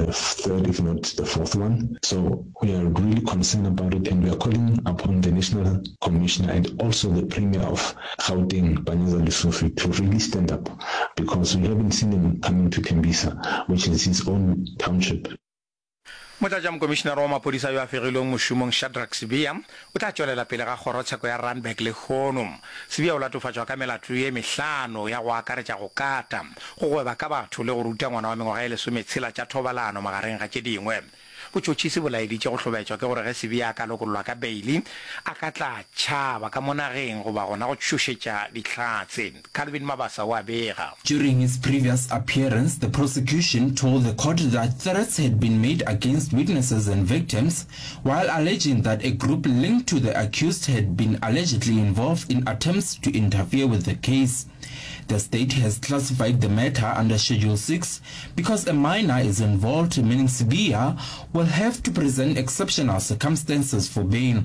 the third, if not the fourth one. So we are really concerned about it and we are calling upon the National Commissioner and also the Premier of Gauteng, Panyaza Lesufi, to really stand up because we haven't seen him coming to Tembisa, which is his own township. Motlatšamokomišinara wa maphodisa yo a fegilweng mošomong Shadrack Sibiya o tla tšwelela pele ga kgorotsheko ya Randburg lehono. Sibiya o latofatšwa ka melato ye mehlano ya go akaretša go kata, go gweba ka batho le go ruta ngwana wa mengwaga ye lesometshela tša thobalano magareng ga tše dingwe. Botšhotšhisi bo laeditše go hlobaetšwa ke gore ge Sibiya a ka lokollwa ka beili a ka tla tšhaba ka mo nageng goba gona go tšhošetša dihlatse. Calvin Mabasa o a bega. During his previous appearance, the prosecution told the court that threats had been made against witnesses and victims, while alleging that a group linked to the accused had been allegedly involved in attempts to interfere with the case. The state has classified the matter under Schedule 6 because a minor is involved, meaning Sibiya will have to present exceptional circumstances for bail.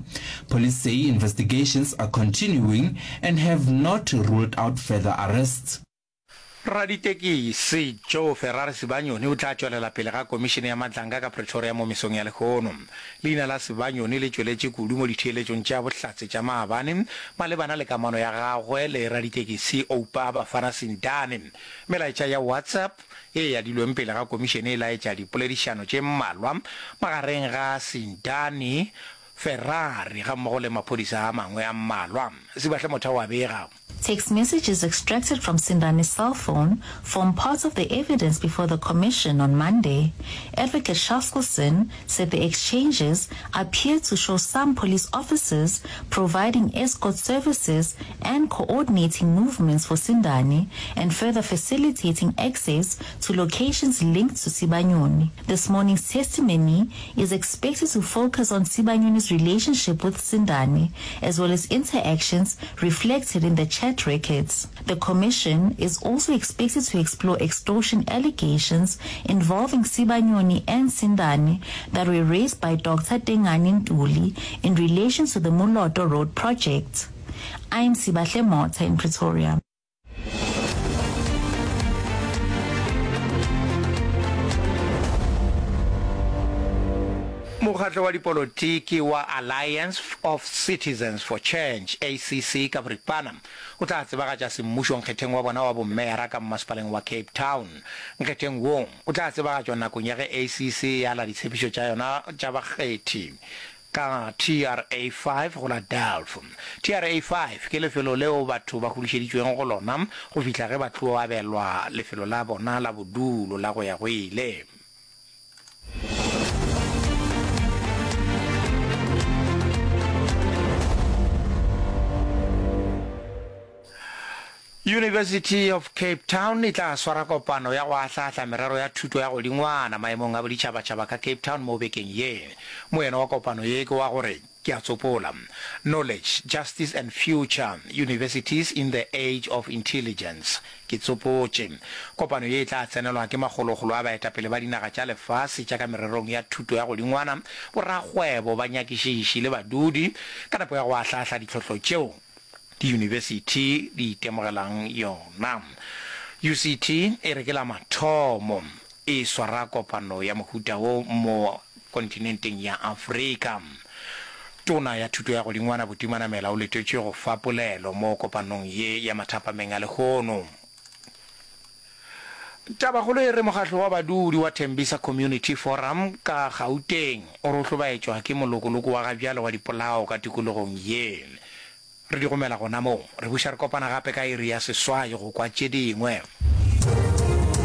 Police say investigations are continuing and have not ruled out further arrests. Raditekisi Joe Ferrari Sibanyoni o tla tšwelela pele ga Komišene ya Madlanga ka Pretoria mo mesong ya lehono. Leina la Sibanyoni le tšweletše kudu mo ditheeletšong tša bohlatse tša maabane malebana le kamano ya gagwe le raditekisi Oupa Bafana Sindane. Melaetša ya WhatsApp ye e adilweng pele ga komišene e laetša dipoledišano tše mmalwa magareng ga Sindane, Ferrari gammogo le maphodisa a mangwe a mmalwa. Sibahle Motha o a bega. Text messages extracted from Sindane's cell phone form part of the evidence before the commission on Monday. Advocate Chaskalson said the exchanges appear to show some police officers providing escort services and coordinating movements for Sindane and further facilitating access to locations linked to Sibanyoni. This morning's testimony is expected to focus on Sibanyoni's relationship with Sindane, as well as interactions reflected in the chat records. The commission is also expected to explore extortion allegations involving Sibanyoni and Sindane that were raised by Dr. Tengani Ntuli in relation to the Moloto Road project. I'm Sibahle Motha in Pretoria. Mokgatlo wa dipolotiki wa Alliance of Citizens for Change, ACC, ka boripana, o tla tsebagatša semmušo nkgetheng wa bona wa bommeyara ka mmasepaleng wa Cape Town. Nkgetheng wo o tla tsebagatšwa nakong ya ge ACC e ala ditshepišo tša yona tša bakgethi ka TRA 5 go la Delft. TRA 5 ke lefelo leo batho ba hudušeditšweng go lona go fihla ge ba tlo abelwa lefelo la bona la bodulo la go ya go ile. University of Cape Town e tla swara kopano ya go ahlaahla merero ya thuto ya godingwana maemong a boditšhabatšhaba ka Cape Town mo bekeng ye. Moeno wa kopano ye ke wa gore, ke a tsopola, Knowledge, Justice and Future, Universities in the Age of Intelligence. Ke tsopotše. Kopano ye e tla tsenelwa ke makgolokgolo a baetapele ba dinaga tša lefase tša ka mererong ya thuto ya godingwana, borakgwebo, banyakišiši le badudi ka nepo ya go ahlaahla ditlhohlo tšeo diyunibesithi di itemogelang yona. UCT e re ke la mathomo e swara kopano ya mohuta wo mo kontinenteng ya Afrika. Tona ya Thuto ya Godingwana Buti Manamela o letetšwe go fa polelo mo kopanong ye ya mathapameng a lehono. Tabakgolo e re mokgatlo wa badudi wa Tembisa Community Forum ka Gauteng o re o hlobaetšwa ke molokoloko wa gabjale wa dipolao ka tikologong ye. Re di gomela gona moo. Re buša re kopana gape ka iri ya seswai go kwa tše dingwe.